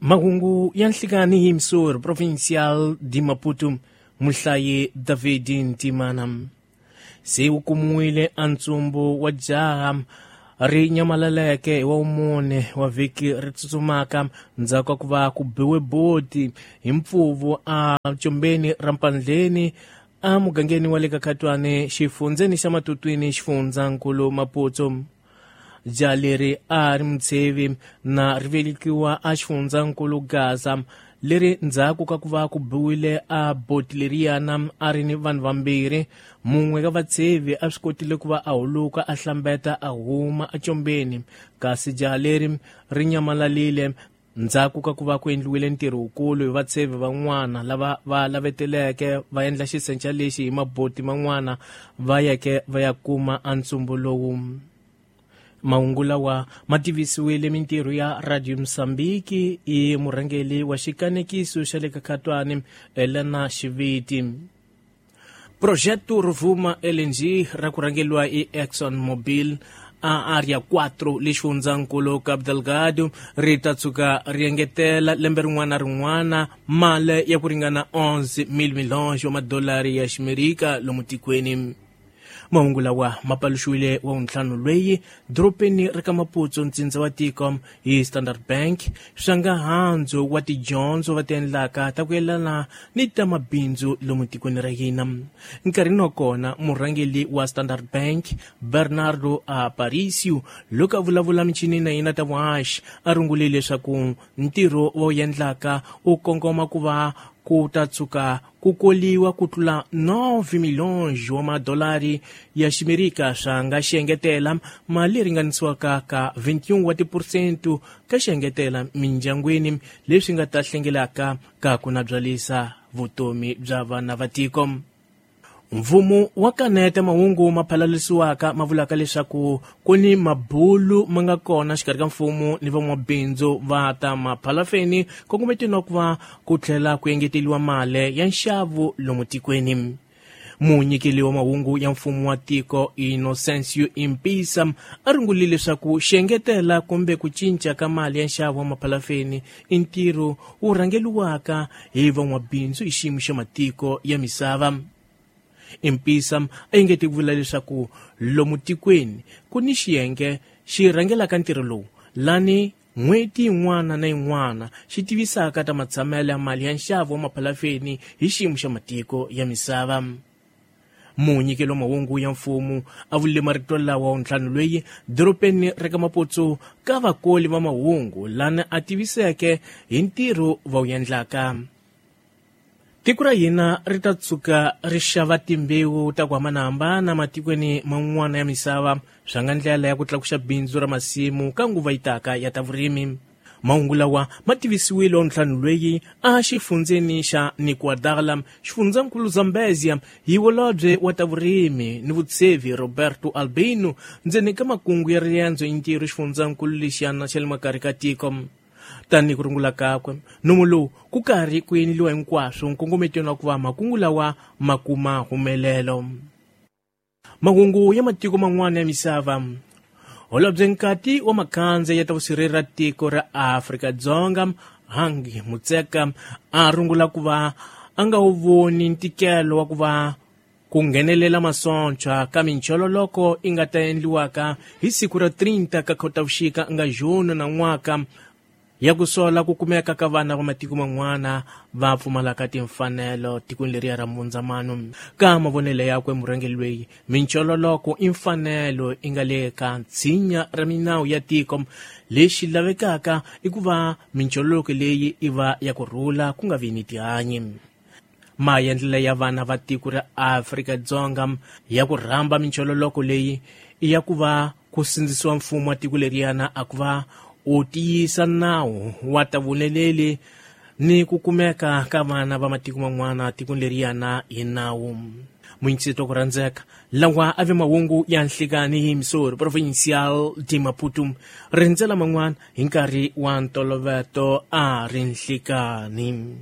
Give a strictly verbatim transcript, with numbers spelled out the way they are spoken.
Mahungu ya nhlikani hi Missouri Provincial de Maputo, muhlayi David Ntimana. Se wu kumiwile a ntsumbu wa jaha ri nyamalaleke hi wa mune wa vhiki ri tsutsumaka ndzhaku ka ku va ku biwe boti hi mpfuvu a combeni ra Mpandleni a mugangeni wa le ka Khatwane xifundzeni xa Matutwini xifundzankulu Maputo. Jaha leri a ri mutshevi na ri velekiwa a xifundzankulu Gaza leri ndzhaku ka ku va ku biwile a boti leriyana a ri ni vanhu vambirhi, mun'we ka vatshevi a swi kotile ku va a huluka a hlambeta a huma ecombeni, kasi jaha leri ri nyamalalile ndzhaku ka ku va ku endliwile ntirho wukulu hi vatshevi van'wana lava va laveteleke va endla xisenca lexi hi maboti man'wana va yeke va ya kuma a ntsumbu lowu. Mahungu lawa ma tivisiwile mintirho ya Radio Mozambique i murhangeri wa xikanekiso xa le ka Khatwane Elena Xiviti. Projeto Rovuma L N G ra ku rhangeriwa hi Exxon Mobil a Area quatro le xifundzankulu Cabo Delgado ri ta tshuka ri engetela lembe rin'wana na rin'wana mali ya ku ringana onze mil milhões wa madolari ya Ximerika lomu tikweni. Mahungu lawa ma paluxiwile wa wuntlhanu lweyi dorobeni ra ka Maputo ntsindza wa tiko hi Standard Bank swa nga handzu wa tidyondzo va ti endlaka ta ku yelana ni ta mabindzu lomu tikweni ra hina. Nkarhini wa kona murhangeri wa Standard Bank Bernardo Aparicio loko a vulavula michini na yena ta vuhaxi a rungule leswaku ntirho wa wu endlaka wu kongoma ku va ku ta tshuka ku koliwa ku tlula nove milhões wa madolari ya Ximerika swa nga xiengetela mali leyi ringanisiwaka ka vinte e um wa tiphesente ka xiengetela mindyangwini leswi nga ta hlengelaka ka ku nabyalisa vutomi bya vana va tiko. Mfumo wa kaneta mahungu ma phalalisiwaka ma vulaka leswaku ku ni mabulu ma nga kona xikarhi ka mfumo ni van'wabindzu va ta maphalafeni kongometeni wa ku va ku tlhela ku engeteriwa mali ya nxavo lomu tikweni. Munyikeli wa mahungu ya mfumo wa tiko Inocencio Impisa a rungulile leswaku xiengetela kumbe ku cinca ka mali ya nxavo wa maphalafeni i ntirho wu rhangeriwaka hi van'wabindzu hi xiyimo xa matiko ya misava. Impisa a engete ku vula leswaku lomu tikweni ku ni xiyenge xi rhangelaka ntirho lowu lani n'hweti yin'wana na yin'wana xi tivisaka ta matshamelo ya mali ya nxavo wa maphalafeni hi xiyimo xa matiko ya misava. Munyikeli wa mahungu ya mfumo a vulile marito lawa wa ntlhanu lweyi dorobeni ra ka Maputo ka vakoli va mahungu lani a tiviseke hi ntirho va wu endlaka. Tiko ra hina ri ta tshuka ri xava timbewu ta ku hambanahambana matikweni man'wana ya misava swa nga ndlela ya ku tlakuxa bindzu ra masimu ka nguva yi taka ya ta vurimi. Mahungu lawa ma tivisiwile wa ntlhanu lweyi a xifundzeni xa Niquadala xifundzankulu Zambezia hi holobye wa ta vurimi ni vutshevi Roberto Albino ndzeni ka makungu ya riendzo hi ntirho xifundzankulu lexiyana xa le makarhi ka tiko. Tanihi ku rungula kakwe nomu lowu ku karhi ku endliwa hinkwaswo nkongometweni wa ku va makungu lawa ma kuma humelelo. Mahungu ya matiko man'wana ya misava. Holobye nkati wa makhandze ya ta vusirheleri ra tiko ra Afrika-Dzonga Hangi Mutseka a rungula ku va a nga wu voni ntikelo wa ku va ku nghenelela masocha ka minchololoko i nga ta endliwaka hi siku ra trinta ka Khotavuxika nga June na n'waka ya ku sola ku kumeka ka vana va matiko man'wana va pfumalaka timfanelo tikweni leriya ra Mundzamano. Ka mavonelo yakwe murhangeri lweyi minchololoko i mfanelo i nga le ka ntshinya ra minawu ya tiko lexi lavekaka i ku va minchololoko leyi i va ya ku rhula ku nga vi ni tihanyi. Maendlelo ya vana va tiko ra Afrika-Dzonga ya ku rhamba minchololoko leyi i ya ku va ku sindzisiwa mfumo wa tiko leriyana a ku va u tiyisa nawu wa ta vuleleli ni ku kumeka ka vana va matiko man'wana tikweni leriyana hi nawu. Munyikiseti wa ku rhandzeka lawa a ve mahungu ya nhlikani hi Missouri Provincial de Maputo rindzela man'wana hi nkarhi wa ntoloveto a ri nhlikani.